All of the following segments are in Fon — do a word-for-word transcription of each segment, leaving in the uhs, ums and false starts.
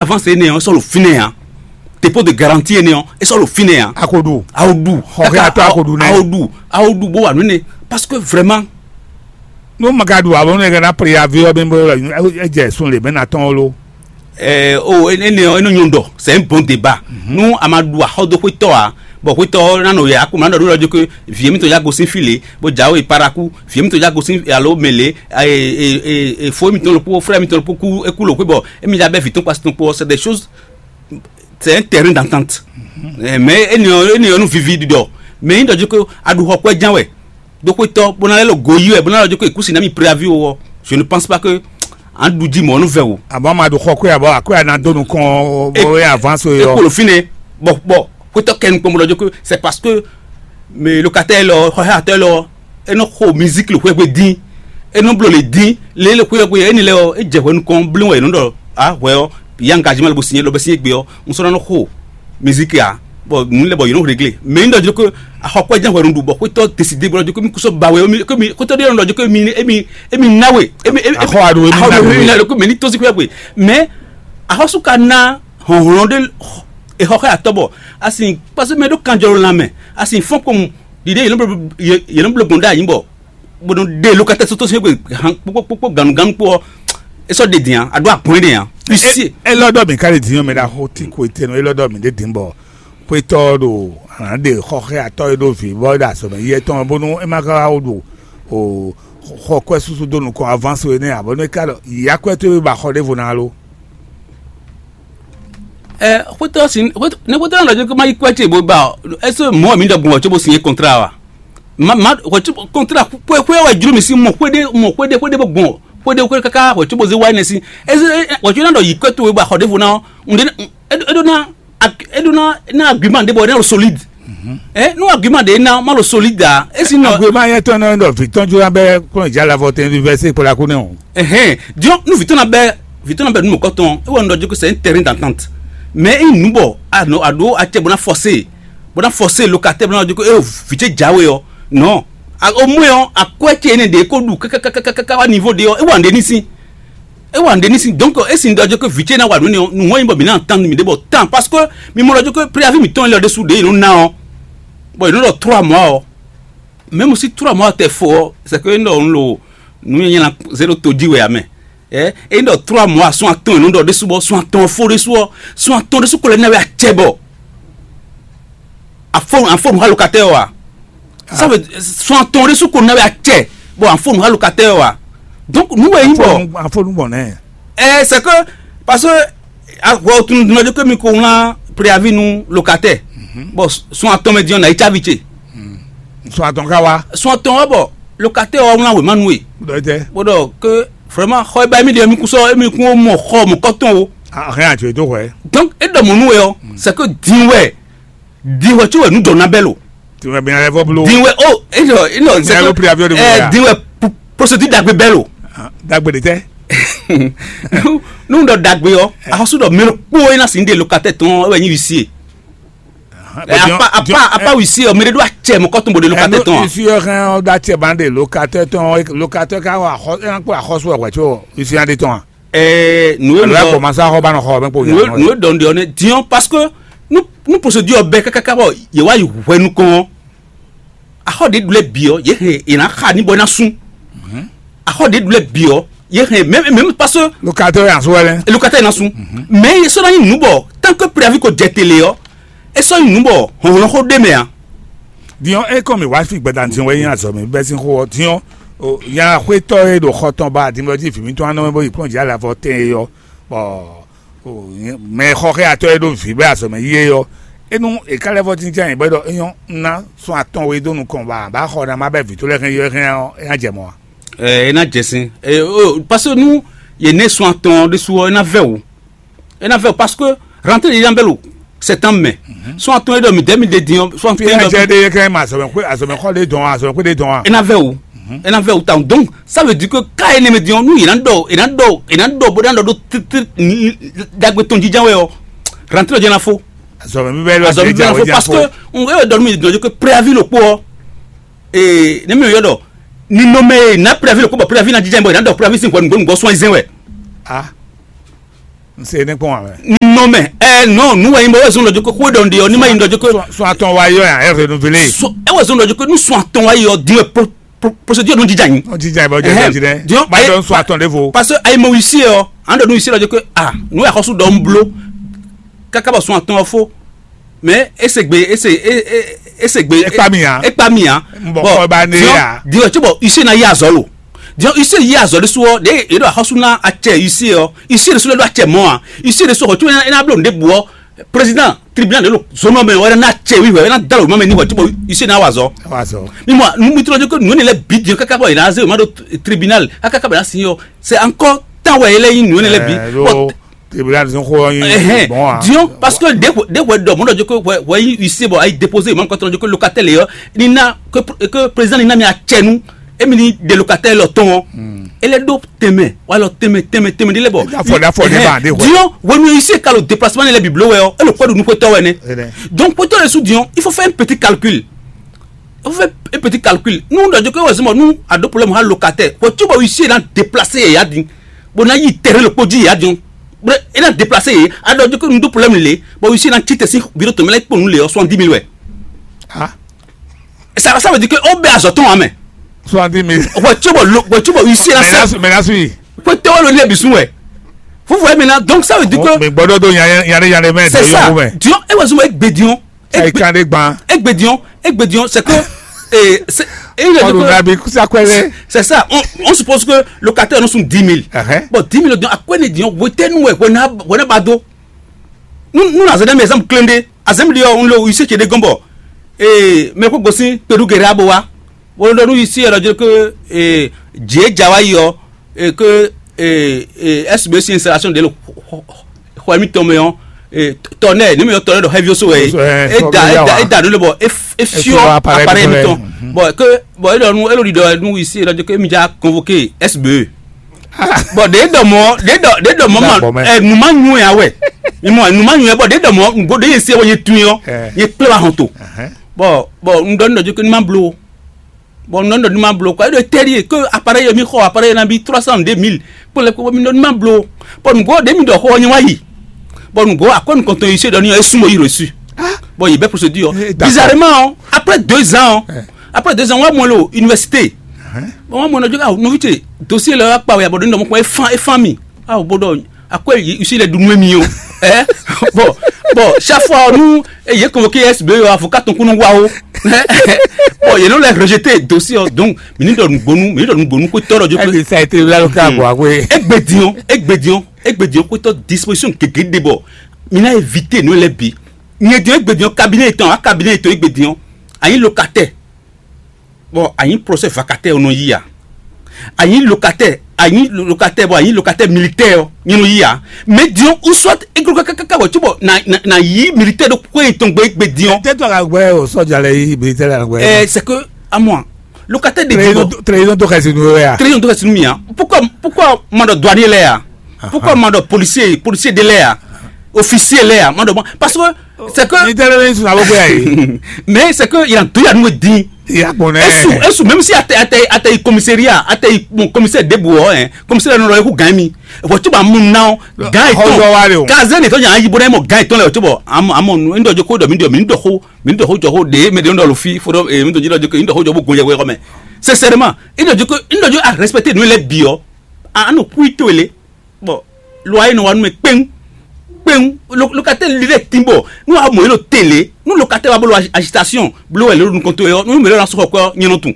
Avance énɛ́ ɔ́, é sɔ́ ɖo fínɛ́ ǎ. Dépôt de garantie énɛ́ ɔ́, é sɔ́ ɖo fínɛ́ ǎ. Akoɖu. Aoɖu. Xɔ xɛ atɔ́ akoɖu nɛ́. Aoɖu. Aoɖu bó wà nú énɛ́. Parce que vraiment, nú ma ka ɖu avɔ nú ɛ ná préavé ɔ́, bɛn bó é jɛ sun lě mɛ ná tɔn ó lo. Ɛɛ o, énɛ́ ɔ́, é nɔ nyɔ́ ɖɔ, c'est un bon débat. Nú a ma ɖu axɔ́ dó xwétɔ́ ǎ, bɔ xwétɔ́ ɔ́ ná nɔ yɛ akú ma ɖɔ ɖó lɔ jó ké vǐ émítɔn yá gosín fí lě, bó jǎwe paraku, vǐ émítɔn yá gosín alo mɛ lě, fó émítɔn ɖokpó, frɛ́ émítɔn ɖokpó kú é kú lǒ xwé bɔ émí yá bɛ́ vǐ tɔn kpasi tɔn kpó ɔ́, c'est des choses, c'est un terrain d'entente. Mais énɛ́ ɔ́, énɛ́ ɔ́ nú vivi ɖiɖɔ. Mais nyí ɖɔ jó ké a ɖu xɔ kwɛ́ ján wɛ, ɖó xwétɔ́ bó ná lɛ́ lɔ go yí wɛ bó ná lɔ jó ké kú si ná mi préavi o ɔ́, je ne pense pas que an ɖu jí mɔ̌ nú vɛ o. Abɔ ma ɖu xɔ kwé abɔ akwé ana dó nukɔn bɔ é avance é ɔ́. Kpolo fínɛ́, bɔ bɔ xwétɔ́ kɛ nukpɔn bó lɔ jó ké, c'est parce que mais locataire lɔ, xɔxɛatɔ́ lɔ, é nɔ xo musique le xwé dín, é nɔ bló le dín, lě le xwé xwé éni lɛ ɔ́, é jɛ hwɛ nukɔn bló wɛ é nɔ ɖɔ a hwɛ ɔ́, ya engagement le bo signé lɔ bɛ signé gbe ɔ́, un sɔ́ ná nɔ xo musique a, bɔ nu lɛ bɔ yě nɔ réglé. Mais un ɖɔ jí ko axɔkpɔ́ jẹ́ hwɛ nu ɖu bɔ xwétɔ́ décidé bɔ jí ko mi kúsɔ ba wɛ, ko mi xwétɔ́ ɖé nɔ jí ko mi emi emi nawe emi emi Axɔ aɖo emi axɔ nawe. Emi nawe ko mɛ ni tɔ́sí xwé xwé. Mais axɔsú ka ná hɔnhlɔn ɖé exɔ xɛ atɔ bɔ asi kpasi mɛ ɖo kanjɔ lan mɛ asi fɔn kpɔn ɖiɖe yɛlɛ blo yɛlɛ blo gbɔn ɖe anyi bɔ bó nɔ ɖe lókatɛ sótó sɛn gbe han kpókpókpó ganu ganu kpó ɔ esɔ ɖe dian aɖo agbɔn ɖe yan. Isi Elɔ dɔ mi ka ɖe din ɔ́ mɛ ɖaxó tí ko etɛnɔ elɔ dɔ mi ɖe din bɔ xwetɔ ɖo ana ɖe xɔxɛ atɔ e ɖo vi bɔ ɖo azɔmɛ yɛ tɔn bónú e ma ka wá ɖo o xɔ kwɛ susu dó nukɔn avance we nɛ abɔ nú e ka ɖɔ yi akwɛ tó e ba xɔ ɖěvo ná lo. Ɛ xwetɔ si ne xwetɔ nɔ ɖɔ ma yi kwɛ ce bo ba ɔ ɛsɛ mɔ mi ɖɔ gbɔn ɔ tso bo signé contrat wa? Ma ma wɔ tso contrat xwe xwe wɛ jlo mi si mɔ xwe ɖe mɔ xwe ɖe xwe ɖe bo gbɔn xwe ɖe xwe kaka wɔ tso bo ze wa ne si ɛsɛ wɔ tso na ɖɔ yi kwɛ to we ba xɔ ɖe vo na ɔ ŋɖe e ɖo na e ɖo na na argument ɖe bɔ ne lo solide. Ɛ nu argument ɖe na ma lo solide a esi nɔ. Argument yɛ tɔn nɔ ɖɔ vi tɔn jura bɛ kplɔn ja la vɔ tɛn université kpɔla ko nɛ o. Ɛhɛn diɔ nu vitɔn na bɛ vitɔn na bɛ nu mɔkɔ tɔn e wɔ nu dɔ dzi ko c'est un terrain d'entente. Mais i nu bɔ a nɔ a ɖo acɛ bɔ na forcer bɔ na forcer locataire bɔ na dzi ko e vitse jawe ɔ non. A o mɔ yɔ akwɛ tse ne de ko ɖu kakakakaka wa niveau de ɔ e wa nde ni si. E wa nde ni si donc e si dɔ dzi ko vitse na wa nu ne ɔ nu wɔn yi bɔ mi na entendre mi de bɔ tan parce que mi mɔ dɔ dzi ko préavis mi tɔn lɛ de su de yi nu na ɔ bɔ yi nu dɔ trois mois ɔ. Même si trois mois tɛ fo ɔ c'est que nɔ nu lo nu yɛ nyɛ na zero to dzi wɛ amɛ. Ɛ eyi ɖɔ trois mois sɔn atɔn yɛ nɔ ɖɔ ɖésú bɔ sɔn atɔn fó ɖésú ɔ sɔn atɔn ɖésú ko lɛ na wɛ acɛ bɔ afɔ afɔ nu ha locataire wa. Ça veut sɔn atɔn ɖésú ko na wɛ acɛ bɔ afɔ nu ha locataire wa. Donc nu wɛ yi bɔ afɔnu gbɔn nɛ. Ɛ c'est que parce que ahwɛ o tunu dunu ɔjɔ kemi ko wlan préavis nu locataire bɔ sɔn atɔn mɛ diɔ na yi tsavi ce. Sɔn atɔn ka wa. Sɔn atɔn wa bɔ locataire wa wlan wema nu ye. Dɔjɛ. Bó dɔ ke vraiment xɔ eba emi de emi kun sɔ emi kun mɔ xɔ mɔ kɔtɔn o. Ahɛn ati to xɔɛ. Donc e dɔ mɔ nu ye ɔ c'est que din wɛ din wɛ tí wɛ nu dɔ na bɛ lo. Tí wɛ bi na lɛ fɔ blo. Din wɛ o e dɔ e dɔ c'est que ɛ din wɛ procédure dagbe bɛ lo. Dagbe de tɛ. Nu dɔ dagbe ɔ ahɔsu dɔ mɛ kpó e na si de locataire tɔn e wɛ nyi huissier. Apa apa apa huissier ɔ mɛ de do acɛ mɔ kɔtun bo de locataire tɔn. Huissier hɛn ɔ da cɛ ban de locataire tɔn locataire ka wɔ axɔ ɛn kpɔ axɔsu ɔ wɛ tso huissier de tɔn. Ɛɛ nu ye dɔn kɔmasa xɔ ba nɔ xɔ mɛ kpɔ nu ye dɔn de ɔnɛ diɔn parce que nu nu procédure bɛ kakaka bɔ ye wa yi hwɛ nukɔn. Axɔ ɖe ɖu lɛ bi ɔ ye hɛn ye na xa ni bɔ na sun. Axɔ ɖe ɖu lɛ bi ɔ ye hɛn mɛ mɛ parce que locataire yan so wɛ lɛ. Locataire na sun. Mais ye sɔ na nyi nu bɔ tant que préavis ko jɛ télé ɔ e sɔ nyi nu bɔ hɔnhɔn xo ɖe mɛ a. Diɔn e kɔ mi wá fi gbɛda diɔn wɛ yin azɔ mi bɛ sin xo ɔ diɔn o yan xwetɔ e ɖo xɔ tɔn ba dimlɔ ji vi mi tɔn anɔ bo yi kplɔn dzi ala fɔ tɛn e yɔ bɔ mɛ xɔxɛ atɔ e ɖo vi bɛ azɔ mɛ yi e yɔ enu e ka lɛ fɔ tintin anyi bɛ ɖɔ eyɔn na sɔn atɔn we do nukɔn ba ba xɔ na ma bɛ vi to lɛ hɛn yɔ hɛn ɔ e na jɛ mɔ wa. Ɛ e na jɛ sin ɛ o parce que nu ye ne sɔn atɔn ɖe su ɔ e na vɛ o. E na vɛ o parce que rentrée de yambɛlo septembre mai. Sɔn atɔn e ɖɔ mi dɛ mi de din ɔ sɔn atɔn e ɖɔ. Fi ɛjɛ de ye kɛ ma azɔmɛ kpe azɔmɛ xɔ de dɔn azɔmɛ kpe de dɔn a. E na vɛ o. E na vɛ o tan donc ça veut dire que ka e ne me din ɔ nu yina dɔ yina dɔ yina dɔ bo dan dɔ do tete ni dagbe tɔn jija wɛ ɔ rentrée de na fo. Azɔmɛ mi bɛ lɔ azɔmɛ mi bɛ na fo parce que n e dɔ mi dɔ que préavis lo kpo ɔ ee ne mi yɔ dɔ ni nɔ mɛ na préavis lo kpo bɔ préavis na jija bɔ yina dɔ préavis sin hwɛ nugbɔ nugbɔ sɔn zɛn wɛ. Ah. N se ní kpɔ́n ǎ mɛ. Nɔ mɛ, ɛ nɔ nu wɛ nyí bɔ wɛ zɔn ɖɔ joko xwe ɖɔ nɖe ɔ ní ma nyí ɖɔ joko. Sɔn atɔn wa yɔ ya ɛ renouvelé. Sɔn ɛ wɛ zɔn ɖɔ joko ní sɔn atɔn wa yɔ din wɛ pro pro procédure nɔ jija nyi. Wọ́n ti jà ìbọn jẹ Ɛhɛn, jẹ jẹ. Diɔn, Bá ayi- dɔn sɔn atɔn ɖé vo. Parce que ayi mɔ wisi ɔ, an ɖɔ nu wisi lɔ joko ah nu yà xɔsu ɖɔ n blo. Kaka bɔ sɔn atɔn ɔ fo. Mais ese gbe ese e- e- ese gbe. Ekpa mi ya. Ekpa mi ya. N bɔ kɔ ba ne ya. Diɔn tso bɔ wisi na yi azɔ lo. Diɔn wisi yi azɔ ɖe su ɔ ɖe e ɖo axɔsu na acɛ wisi ɔ wisi ɖe su lɛ ɖo acɛ mɔ a wisi ɖe su xɔ tso ena blo nɖe bu ɔ. Président tribunal de lo zone mɛ wɛrɛ na cɛ wi wɛrɛ na da lo mɛ ni wɛ tí bɔ ici na wa zɔ. Wa zɔ. Mi mɔ nu mi tɔrɔ ko nu ne lɛ bi diɛ kaka bɔ yina ze ma do tribunal kaka bɛ na si yɔ c'est encore temps wɛ yɛlɛ yi nu ne lɛ bi. Ɛɛ, Bon, lo tribunal zɔn xɔ yin ɛhɛn, bon a. Diɔn parce que de de wɛ dɔ mɔdɔ joko wɛ wɛ yi ici bɔ ayi déposer ma kɔtɔn joko locataire yɔ ni na que que président ni na mi acɛ nu emi ni de locataire lɔ tɔn. E lɛ ɖó tɛnmɛ walɔ tɛnmɛ tɛnmɛ tɛnmɛ ɖi lɛ bɔ. Afɔ ɖe afɔ ɖe ba ɖe hwɛ. Diɔn wenu ici ka lo déplacement ne lɛ biblo wɛ ɔ e lo kpɛ ɖo nukwetɔ wɛ nɛ. Donc kpetɔ yɛ su diɔn il faut faire un petit calcul. Il faut faire un petit calcul nu ɖɔ joko wɛ zimɔ nu a ɖo problème ha locataire wɛ tí bɔ ici na déplacer yɛ ya din bɔ na yi terrain lo kpɔ di yɛ ya din bɔ e na déplacer yɛ a ɖɔ joko nu ɖo problème le bɔ ici na tite si biro tɔmɛ lɛ kpɔ nu le ɔ soixante dix mille wɛ. Ah. Ça, ça veut dire que on bɛ azɔ tɔn amɛ. Soixante dix mille. Wɛ tso bɔ lo wɛ tso bɔ huissier la Mais là, sɛ. Mais là, suis. Ko tɛ wɛ lo ne bisu wɛ. Vous voyez maintenant, donc ça veut dire que. Mais gbɔdɔ do yanni yanni yanni mɛ c'est de ça yɔrɔ mɛ. Dion e wɛ sɔmɔ egbe dion. Ayi kan de gban. Egbe dion egbe dion c'est que. Eh, c'est et il a dit Ɔlù que nabi kusa kwɛlɛ. C'est ça, on, on suppose que locataire nous sont dix mille. Bon, dix mille dion akwɛ ne dion wete nu wɛ wɛ na wɛ na ba do. Nous nous na zɛ dɛ mɛ exemple clé de azɛm de ɔ n lo huissier ce de gɔnbɔ. Ee mɛ ko gosin pedu gɛrɛ abo wa wolo dɔ nu huissier yɛ dɔ jɛ ke ee jie ja wa yi ɔ ee ke ee ee S B C installation de lo xɔ mi tɔn mɛ ɔ ee tɔnɛ ne mi yɔ tɔnɛ dɔ hɛvioso wɛ e da e da e da nu le bɔ e fiɔ appareil mi tɔn bɔn ke bɔn e dɔ nu e lo di dɔ nu huissier yɛ dɔ jɛ ke mi ja convoquer S B E. Bɔn ɖe dɔ mɔ ɖe dɔ ɖe dɔ mɔ ma ɛ nu ma nyu ya wɛ mi mɔ nu ma nyu ya bɔn ɖe dɔ mɔ nugbo ɖe ye se wɔ ye tun yɔ ye kple wa hɔn to bɔn bɔn n dɔ n dɔ dzi ko ni ma blo bɔn n dɔ n dɔ ni ma blo kɔ e ɖo tɛri ye ko appareil ye mi xɔ appareil ye na bi trois cent deux mille kpɔn lɛ ko mi dɔ ni ma blo bɔn nugbo ɖe mi dɔ xɔ nye wa yi bɔn nugbo akɔ nukɔntɔn yi se dɔ ni yɔ e sumɔ yi reçu bɔn yi bɛ procédure bizarrement après deux ans après deux ans wa mɔ le o université bon wa mɔ na dzoga nɔvi ce dossier lɛ wa kpa wɛ bɔ ɖo nɔ mɔ kpɔn efan efan mi awo bó ɖɔ akwɛ yi si lɛ ɖu nú emi o ɛ bɔn bɔn chaque fois nu eye convoqué S B avocat tɔn kunu wa o bɔn yɛlɛ lɛ rejeté dossier ɔ donc mi ni ɖɔ nugbonu mi ni ɖɔ nugbonu ko tɔrɔ jo Ebi sa ete la lo ka bɔ akwe. Egbe diɔn egbe diɔn egbe diɔn ko tɔ disposition gege de bɔ mi na éviter nu lɛ bi nyɛ diɔn egbe diɔn cabinet tɔn a cabinet tɔn egbe diɔn anyi locataire bɔn anyi procès vacataire nɔ yi ya anyi locataire anyi locataire bɔn anyi locataire militaire ɔ nyɛ nɔ yi ya mais diɔn ou soit egro kaka bɔ tí bɔ na na na yi militaire ɖo kó etɔn gbé gbé diɔn. Tɛ to ka gbɛ o sɔdza lɛ yi militaire la gbɛ. Ɛ c'est que à moi locataire de diɔn. Trahison to kasi nu ya. Trahison to kasi nu ya pourquoi pourquoi ma dɔ douanier lɛ ya pourquoi ma dɔ policier policier de lɛ ya officier lɛ ya ma dɔ parce que c'est que. Ni tẹ́lẹ̀ ní sùn àbúkú yà yìí. Mais c'est que il a tout ya nous dit. Ìyá pọ̀ nẹ́. Esu esu même si ate ate ate yi commissariat ate yi bon commissaire de bu ɔ ɛ commissaire nɔ lɔ eku gan mi wɔ tí ba mu na ɔ gan yi Ọjọ́ wa le o. Tɔn kaze ne tɔn nya yi bo na mɔ gan yi tɔn lɛ o tí bɔ amɔ amɔ nu ndɔ joko dɔ mi dɔ mi ndɔ ko mi ndɔ ko jɔ ko de mi de ndɔ lo fi fo dɔ mi dɔ ji dɔ joko ndɔ ko jɔ bo gun yɛ wɛ kɔ mɛ sincèrement ndɔ joko ndɔ joko a respecter nu lɛ bi ɔ anu kui to le. Bɔn lɔ ayé nɔ wa nú mɛ kpɛ́n kpɛ́n locataire li lɛ tin bɔ nú wa mɔ yé lo télé nú locataire wa bolo agitation bolo wɛ lé lo nukɔn to yɔ nú mɛ lɛ na sɔkɔ kwɛ nyɛ nɔ tun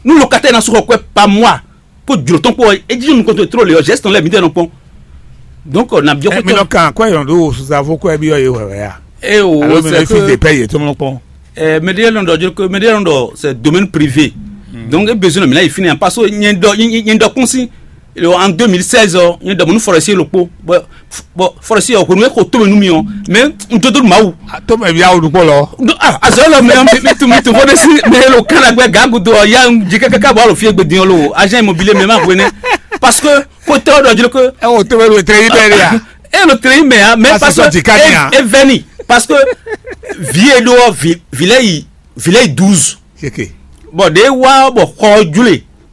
nú locataire na sɔkɔ kwɛ par mois ko jlo tɔn kpɔ e jí nukɔn to tró le yɔ geste lɛ mi tɛ nɔ kpɔn donc na biɔ mi kɔtɔ. Nɔ kan kwɛ yɔn do suzavo kwɛ bi yɔ ye wɛ wɛ ya. E o Alo mi c'est ne fi de que pɛ ye tó nɔ kpɔn. Ɛɛ mɛ ɖe nɔ ɖɔ jɔ ko mɛ ɖe nɔ ɖɔ c'est domaine privé. Donc e besoin de mi na yi fini parce que nyɛ dɔ nyɛ dɔ kún si en deux mille seize ɔ nyɛ dɔ mɔ nu forestier lo kpo. Bɔn forestier ɔ hwenu e xo to mɛ nu mi ɔ mɛ n dodo nu mawu. Tó mɛ bi awo dukpɔ lɔ. Azɔ lɔ mɛ mi tu mi tu fɔ de si mɛ lo kan agbɛ gagudo ɔ ya n jɛ kaka bɔ alo fie gbe din ɔ lo agent immobilier mɛ ma hwene parce que ko tɛ ɔ dɔ jɔ ko. Ɛ o tó mɛ lo tɛ yi bɛ de ya. E lo tɛ yi mɛ ya mɛ parce que e vɛni parce que vie do ɔ vi vi lɛ yi vi lɛ yi douze. Bɔn ɖe wa bɔ xɔ jule.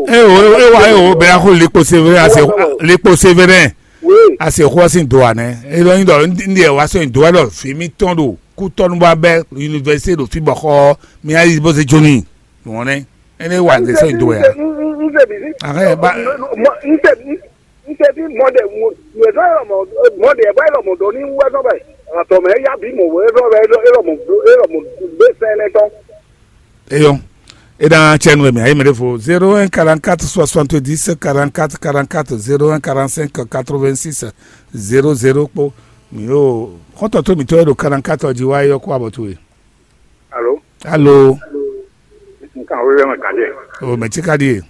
o. E o e wa e o bɛ axo likpo severe ase likpo severe Oui. Ase xɔ sin do anɛ. E lɔ nyi dɔ ndi e wa sɔ nyi do wɛ lɔ fi mi tɔn do ku tɔnu ba bɛ université do fi bɔ xɔ mi ayi bo se joni. Wɔn nɛ ene wa de sɔ nyi do wɛ. N se bi si. Ahɛ ba. N se bi mɔ de mo mo e dɔ yɔrɔ mɔ mɔ de bɔ yɔrɔ mɔ dɔ ni wɛ dɔ bɛ atɔ mɛ ya bi mɔ wɛ dɔ bɛ yɔrɔ mɔ yɔrɔ mɔ de sɛnɛ tɔn. Eyɔn. E dan cɛnu e mɛ ayi mɛ ɖe fo zéro un quarante-quatre soixante-dix quarante-quatre quarante-quatre, zéro un quarante-cinq quatre-vingt-six zéro zéro kpó. Mi yo xɔntɔn to mi tɔ e ɖo quarante-quatre ɔ ji wa yɔ kó abɔ towe. Alo. Alo. Nkan wo yɛ ma gade. O mɛ tsi ka di ye.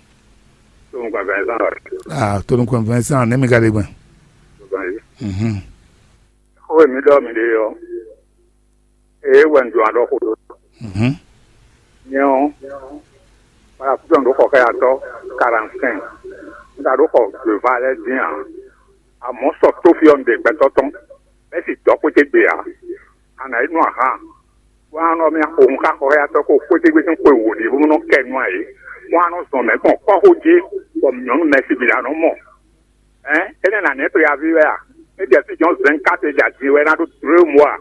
To mu gba Vincent wa. Ah, to nu kɔn Vincent ne mi ka de gbɛn. Mhm. Xó e mi ɖɔ mi ɖe ɔ́, eye wɛ un jɔ aɖɔxo ɖó. Mhm. Nyɛ ɔ́, kpalakutu ɔ́ ɖo xɔ xɛyatɔ́ quarante-cinq. Un ka ɖo xɔ gběva lɛ́ɛ dín ǎ. Amɔ̌ sɔ tófí ɔ́ un ɖe gbɛtɔ́ tɔn, bɛ́ sì dɔ̌ xwété gbe ǎ. A nǎ yi nú ahan, bó ná nɔ mì axo hun xá xɔ xɛyatɔ́ ko xwété gbe sín xwe wǒ ɖé bónú nɔ kɛ nú ǎ é. Bó ná nɔ zɔn mɛ̌ gbɔn kɔ́xo jí, bɔ nyɔ̌nu mɛ̌si bǐ ná nɔ mɔ. Ɛ̌, énɛ́ nǎ nɛ́ to yaví wɛ a? É jɛ fí jɔ́n zɛ̌n káte jɛ din wɛ é ná ɖó dlǒ e mɔ a?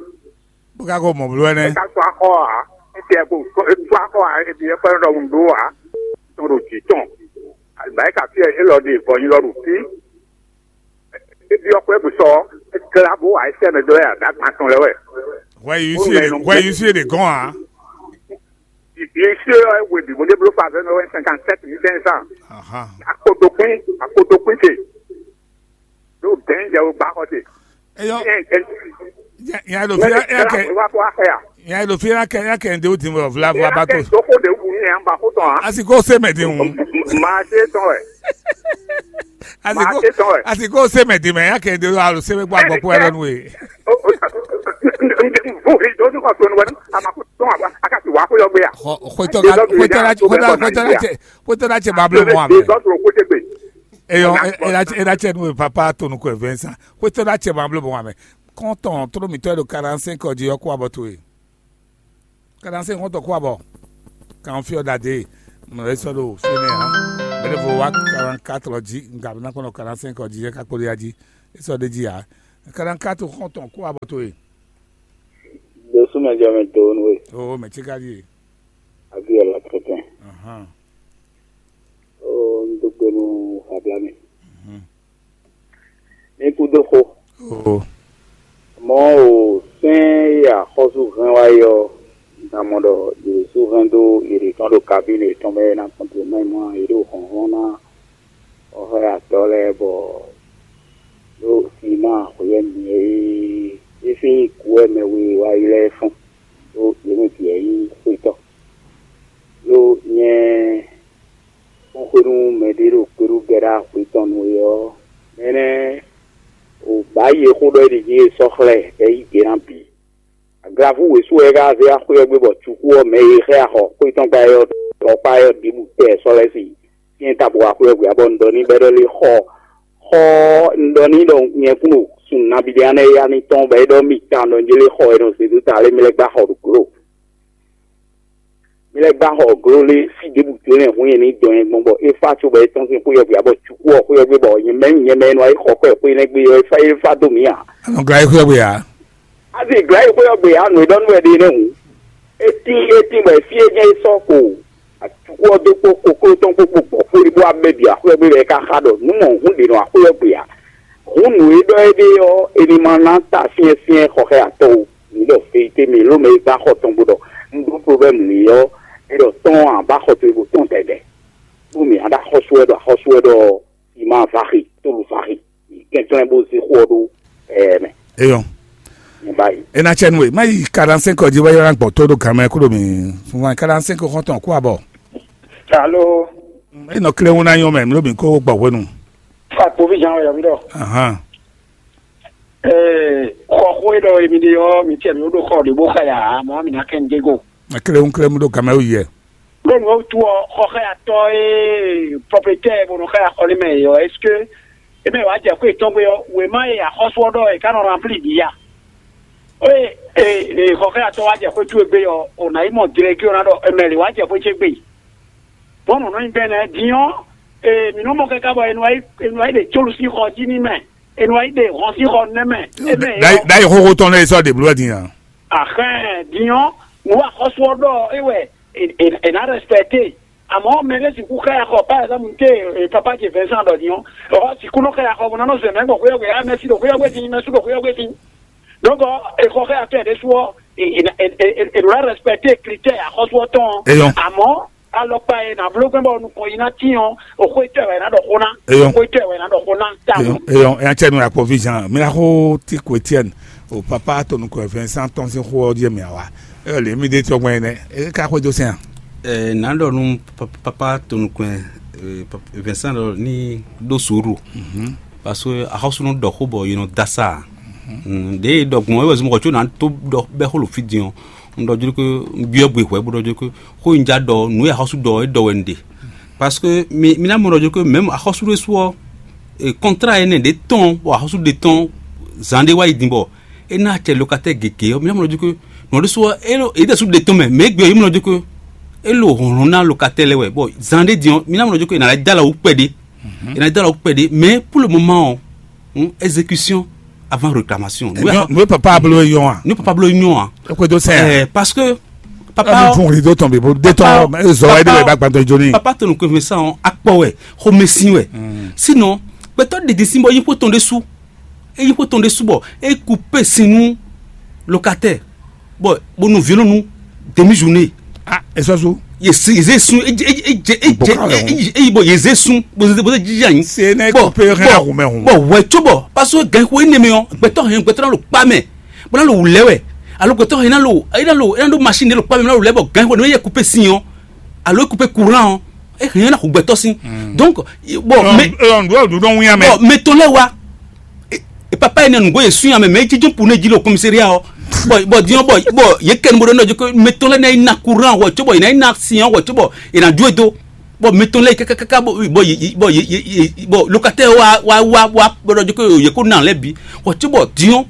Bó ka ko mɔ bló wɛ nɛ́. É ka tó axɔ ǎ. É tɛ ko tó axɔ ǎ, é ɖi é kpɛ́ ɖɔ un ɖó ǎ. Tɔn ɖo jǐ tɔn. Àgbáyé ka fí wɛ élɔ́ ɖe vɔ nyi lɔ ɖo fí. É byɔ́ xwé bǔ sɔ, é glá bó wá é sɛ́ mɛ dó wɛ àdágbán tɔn lɛ́ɛ wɛ. Hwɛ yi Ó sí nɔ ɛ ɛ nɔ hwɛ yi sí ɛ ɖe gɔn ǎ. Ici, we bǐ bó ɖe bló faveur nɔ wɛ cinquante-sept mille cinq cents. Ahan. Akotokwín, akotokwín ce. Ɖo dɛ̌n jɛ wo gbá xɔ te. Eyɔ. Nya nya ɖo fi ya ya kɛ Wa ko axɛ ya. Nya ɖo fi ya kɛ ya kɛ ŋde wo din wɔ vla vla ba to. Doko de wu ni an ba ko tɔn a. Asi ko se mɛ din wu. Ma se tɔn wɛ. Asi Ma ko se tɔn wɛ. Asi ko se mɛ din mɛ ya kɛ ŋde wo alo se mɛ gbɔ agbɔ ko ɛrɛ nu ye. Bóri tó ní kɔ̀tún wẹ́n a máa kó tún àbá a ká sì wá kó yọ gbé yà. Xɔ xɔtɔ ka xɔtɔ la xɔtɔ la xɔtɔ la cɛ xɔtɔ la cɛ ba blo mɔ amɛ. Dɔtò kó tɛ gbé. Eyɔ ela cɛ ela cɛ nu papa to nu kɔ Vincent xɔtɔ la cɛ ba blo mɔ amɛ. Kɔntɔn toro mitɔ ɖo quarante-cinq ɔdi yɔ kó abɔ to ye. Quarante-cinq xɔtɔ kó abɔ. Kan fiɔ dade. Mɛ sɔ do fini ha. Mɛɖevo wá quarante-quatre jí, un ka ná kpɔ́n ɖɔ quarante-cinq jí, é ka kpo ɖe ya jí. É sɔ́ ɖ'é jí ǎ. Quarante-quatre xɔ́ntɔn kó abɔ towe. Ɖo súnmɛ jɔ mɛ do nú we. Oo, mɛ ce ka ɖíe. Abi ɔlá tɛtɛn. Ahán. Oo, un dó gbe nú Fabian. Mhm. Ní kúdó xó. Oo. Mɔ̌ o, sɛ́n e axɔ́sú hɛn wá é ɔ́, un ka mɔ ɖɔ yě sú hɛn dó yě ɖě tɔn ɖo kabíne yětɔn mɛ ná kɔntinúmɛ mɔ ǎ, yě ɖo hlɔ̌nhlɔ́n ná xɔxɔ́yatɔ́ lɛ́ɛ bɔ ɖó simáa xweyɛ́mɛ e é sín kú wɛ mɛ we wá yi lɛ́ɛ fɔ́n ɖó yě mɛ bǐ wɛ nyí xwétɔ́. Ɖó nyɛ kpɔ́n xwé nú mɛɖé ɖo kpéɖugɛ́ ɖo axwe tɔn nu é ɔ́, mɛ énɛ́ o bǎ yi e xó ɖɔ é ɖi jí e sɔ́ xlɛ́ bɔ é yí gbe ná bǐ. Aglavú wěsu wɛ é ka zé axwé ɔ́ gbé bɔ cukú ɔ́ mɛ e xlɛ́ axɔ xwé tɔn gbá é ɔ́ ɖɔkpá é ɔ́ ɖěbǔ tɛ sɔ́ lɛ́ sí syɛ́n ta bɔ axwé ɔ́ gbé ǎ bɔ un ɖɔ n'i bɔ é ɖɔ lé xɔ xɔ un ɖɔ n'i ɖɔ nyɛ kún ɖo sun nabíɖé anɛ ya ní tɔn bɔ é ɖɔ mì tawun ɖɔ un jlé xɔ e nɔ zědú ta lé mi lɛ́ gbá xɔ ɖo glo. Mi lɛ́ gbá xɔ gló lé fí ɖěbǔ jló nɛ́ hun nyɛ ní dɔn nyɛ gbɔn bɔ é fá cóbɔ é tɔ́n sín xwé ɔ́ gbé abɔ cukú ɔ́ xwé ɔ́ gbé bɔ nyɛ mɛ nyɛ mɛ e nɔ wá yi xɔ kɔ ɛ xwé nɛ́ gbé ɔ́ é fá é fá dó mǐ ǎ. Anɔ glá yi xwé ɔ́ gbé ǎ. Azin glá yi xwé ɔ́ gbé ǎ, nǔ e ɖɔ nú wɛ ɖe nɛ́ hǔn. É tín é tín bɔ é fí é jɛ́n é sɔ́ ko cukú ɔ́ dó kpó kokló tɔn kpó kpó gbɔ̌ xwé bó wá mɛ bǐ axwé ɔ́ gbé bɔ é ka xa ɖɔ nǔ mɔ hǔn ɖě nɔ axwé ɔ́ gbé ǎ. Hǔn nǔ e ɖɔ éɖée ɔ́, è nǐ ma ná ta syɛ́nsyɛ́n xɔxɛ́yatɔ́ ó. Mǐ ɖɔ vérité mɛ ló mɛ e gbá xɔ tɔn bó ɖɔ un ɖó problème n'i ɔ́, é ɖɔ tɔ́n ǎ bá xɔ towe bó tɔn dɛdɛ. Bó mǐ ná ɖo axɔ́sú wɛ ɖɔ axɔ́sú wɛ ɖɔ Simá Vaxi, Tólu Vaxi, mǐ kɛnklɛ́n bó zé xó ɔ́ ɖó ɛɛ mɛ. Eyɔn. Nyɛ ba yi. E na cɛ nu e, ma yi quarante-cinq jí wá yɔrɔ gbɔ tó ɖo gan mɛ kúrò mi. Fúnfún quarante-cinq xɔntɔn kú abɔ. Alo. E nɔ kle ŋu na nyɔ mɛ, mi ɖo mi kó gbɔ hwenu. Akpovi jan wɛ yɔ mi ɖɔ. Ahan. Ee, xɔ xó e ɖɔ emi ɖe ɔ́, mi tiɛ mi ɖo xɔ ɖě bó xa ya, mɔ mi ná kɛ nu dé go. Klewúnklewún ɖó gamɛ wú yɛ. Ɖó nǔ wútu ɔ́, xɔ xá ya tɔ́ e propriétaire bó nɔ xá ya xɔ n'i mɛ e ɔ́, est-ce que é mɛ wǎ jɛ xwé tɔn gbe ɔ́, wěma e axɔ́sú ɔ́ ɖɔ è ká nɔ rempli bǐ ya? Ée e xɔ xá ya tɔ́ wá jɛ xwé towe gbe ɔ́, o nǎ yi mɔ délégué ɔ́ ná ɖɔ è mɛ lě wá jɛ xwé ce gbe. Bɔn nǔ nɔ nyi bɛnɛ din ɔ́, ee mǐ nɔ mɔ káká bɔ è nɔ wá yi è nɔ wá yi ɖe cólu sín xɔ jí n'i mɛ, è nɔ wá yi ɖe hɔn sín xɔ nɛ́ mɛ. É mɛ é ɔ́, Ɖayi xóxó tɔn lɛ́ɛ sɔ́ ɖě bló wɛ din a? Ahɛn, din ɔ́, nǔ wa xɔ́sú ɔ́ ɖɔ é wɛ è nǎ rɛspɛkte. Àmọ́ mɛ ɖé sixú xá ya xɔ, par exemple, té papa ce Vincent ɖɔ din ɔ́, ɔ́ sixú nɔ xá ya xɔ bó ná nɔ zɛ mɛ gbɔn xwé ɔ́ gbe, á mɛ sí ɖo xwé ɔ́ gbe dín, mɛ sú ɖo xwé ɔ́ gbe dín. Donc, è xɔ xá ya tɔn ɛ ɖésú ɔ́, è nǎ rɛspɛkte critère axɔ́sú ɔ́ tɔn. Eyɔn. Àmọ́ alɔkpa e nǎ bló gbɛ́ bɔ nukɔn yi ná tín ɔ́, o xwé tɔ́ ɛ wɛ ná ɖɔ xó ná. Eyɔn. O xwé tɔ́ ɛ wɛ ná ɖɔ xó ná. Tawun. Eyɔn, eyɔn, eya cɛ nu akpɔ vision. Mi na xo ti ko Etienne. O papa to nukɔn Vincent tɔn sín xó ɔ́ jí mi awa. Eyɔn lě mi ɖe tí ɔgbɔn yẹn nɛ. E ka xwé dó sɛn a? Ɛ, nǎ ɖɔ nú pa- papa to nukɔn ɛ, ɛ, pap- Vincent ɖɔ ní ɖó sùúrù. Mhm. Parce que axɔ́súnú ɖɔ xó bɔ yě nɔ da sá a. Mm, ɖě e ɖɔ gbɔn é wɛ zɔn xɔ có nǎ tó ɖɔ bɛ́ xó lo fí din ɔ́, un ɖɔ jló ké un byɔ́ gbe hwɛ̌ bó ɖɔ jló ké xó e un já ɖɔ nǔ e axɔ́sú ɖɔ é ɖɔ wɛ un ɖe. Parce que mi mi ná mɔ ɖɔ jló ké mɛ̌m axɔ́sú ɖé sú ɔ́, e kɔntrá énɛ́ ɖě tɔn bɔ axɔ́sú ɖě tɔn zǎn ɖé wá yi din bɔ é ná acɛ lokatɛ́ gěgé ɔ́, mi ná mɔ ɖɔ jló ké nǔ ɔ́ ɖésú ɔ́, é ɖo é ɖésú ɖe tɔn mɛ, mɛ égbé ɔ́, yi mɔ ɖɔ jló ké é ɖo hlɔ̌nhlɔ́n ná lokatɛ́ lɛ́ɛ wɛ. Bɔ zǎn ɖé din ɔ́, mi ná mɔ ɖɔ jló ké è nǎ lɛ́ dó alɔ wú kpɛɖé. È nǎ dó alɔ wú kpɛɖé, mais pour le moment ɔ́, hǔn exécution avant réclamation. Nú papa bló yɔn a? Nú papa bló yɔn a? É xwedó sɛn a? Ɛɛ, parce que papa mi fún ri dó tɔn bí bó dé tɔn zɔ wáyé dé wɛ bá gbantɔ jó ní. Papa tó nukun fún sàn akpɔ wɛ, xomɛsin wɛ. Sinon gbɛtɔ ɖiɖi sin bɔ yi xó tɔn ɖé sú, eyi xó tɔn ɖé sú bɔ é coupé sin nú locataire. Bɔ bonu violon nu demi journée. Ah, esɔsu. Yeze sun eyi bɔ yeze sun bɔn bɔn jija yin. Se ne bɔ coupé rien à roumain. Bɔ wɛ tso bɔ parce que gan ko ene mɛ ɔ gbɛtɔ hɛn gbɛtɔ na lo kpa mɛ bɔ na lo wulɛ wɛ alo gbɛtɔ hɛn na lo ena lo ena lo machine de lo kpa mɛ na lo lɛ bɔ gan ko ne yɛ coupé sin ɔ alo coupé courant ɔ e hɛn na ko gbɛtɔ sin. Donc bɔn mɛ bɔn mɛ tɔn lɛ wa. E papa yi ne nǔgbó yě sun amɛ mɛ jíjún pu ne jí ɖo kɔmísériya ɔ bɔ bɔ diɔ bɔ bɔ yě kɛ nu bó ɖo nɔ jí ko mɛ tɔn lɛ ná yi na kuran wɔ tso bɔ yě ná yi na sian wɔ tso bɔ yě ná ju e do bɔ mɛ tɔn lɛ yi kákákáká bɔ bɔ yě bɔ yě bɔ lokatɛ wa wa wa wa bɔ ɖɔ jí ko yě ko na lɛ bi wɔ tso bɔ diɔ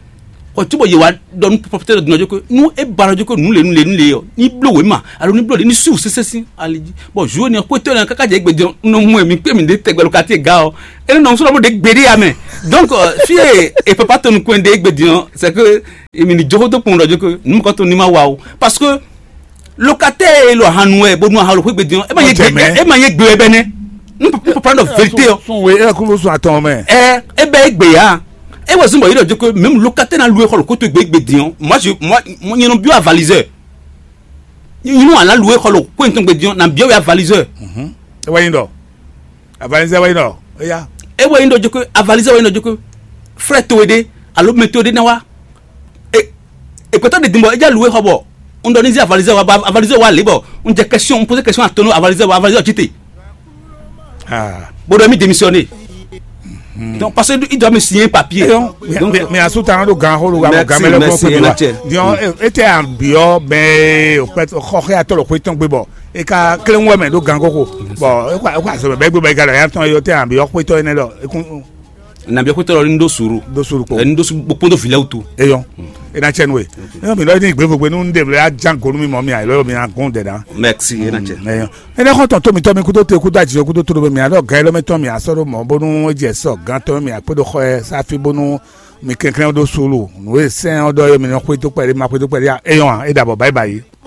ɔ tí bɔ yě wá ɖɔ nú pɔpɔtɛ ɖɔ dínà jókòó nú é ba ɖɔ jókòó nú lě nú lě nú lě ɔ ní bló wěma alo ní bló lě ní sú sésé sín ali jí. Bɔn zu énɛ́ xwétɔ́ énɛ́ káká jɛ égbé din nɔ mú ɛmí kpé mǐ ɖé tɛgbɛ lo ká tiɛ ga ɔ énɛ́ nɔ sɔ́ ɖɔ bó ɖě gbeɖé ya mɛ. Donc fí e e papa tɔn nukún ɖe égbé din ɔ c'est que èmi ní jókòó tó kpɔn ɖɔ jókòó nú mɔkɔ tó ní ma wa o parce que locataire e lo ahan nu wɛ bó nu ahan lo xwé gbé din ɔ é ma yé gbé ɛ ma yé gbé ɛ bɛ nɛ. N papa ɖɔ vérité ɔ. Sun we ɛ kúló sun atɔn mɛ. Ɛ ɛ bɛ é gbé ya. É wɛ zun bɔ yé ɖɔ jókòó même locataire na lu é xɔ lo kótó gbé gbé din ɔ moi je moi moi nyɛ nɔ biɔ avaliseur. Nyɛ nɔ ala lu é xɔ lo kó ntɔn gbé din ɔ na biɔ wɛ avaliseur. Ɛ wɛ nyi ɖɔ avaliseur wɛ nyi ɖɔ eya. É wɛ nyi ɖɔ jókòó avaliseur wɛ nyi ɖɔ jókòó frère towe ɖé alo mɛ towe ɖé na wa. Ekpɛtɔ ɖe din bɔ é já lu é xɔ bɔ un ɖɔ ní zí avalizɛ wa avalizɛ wa lě bɔ un jɛ question un poser question atɔnu avalizɛ wa avalizɛ ɔ jite. Bó ɖɔ mi démissionner. Donc parce que il doit me signer un papier. Donc mais asu tan do gan xó do gan mɛ lɛ kó pé wa diɔn e tɛ an biɔ bɛ o pɛ xɔxɛ atɔ lɔ xó tɔn gbé bɔ e ka kelen wɛ mɛ do gan koko bɔ e ko azɔ mɛ bɛ gbé bɔ e ka lɔ ya tɔn e o tɛ an biɔ xó tɔn e nɛ lɔ e kún. Nabí xwétɔ lɔ ní ɖó sùúrù. Ɖó sùúrù kpó. Ní ɖó sùúrù kpó ɖó vǐ lɛ́ɛ wútu. Eyɔn. E ná cɛ nú we. Eyɔn mi lɔ ní gbé vogbe nú ɖe vlɛ ya jan go nú mi mɔ mi ayɔ mi agun dɛ dan. Merci e ná cɛ. Eyɔn. Ene xɔ tɔn to mi tɔ mi kudo te kudo ajijɔ kudo to do mi alɔ gan elɔ mi tɔn mi asɔ do mɔ bonu jɛ sɔ gan tɔ mi akpé do xɔ ɛ safi bonu mi kɛnklɛn do sùúrù nú e sɛn ɔ dɔ yɔ mi nɔ xwé tó kpɛɖé ma xwé tó kpɛɖé eyɔn e dabɔ bye bye.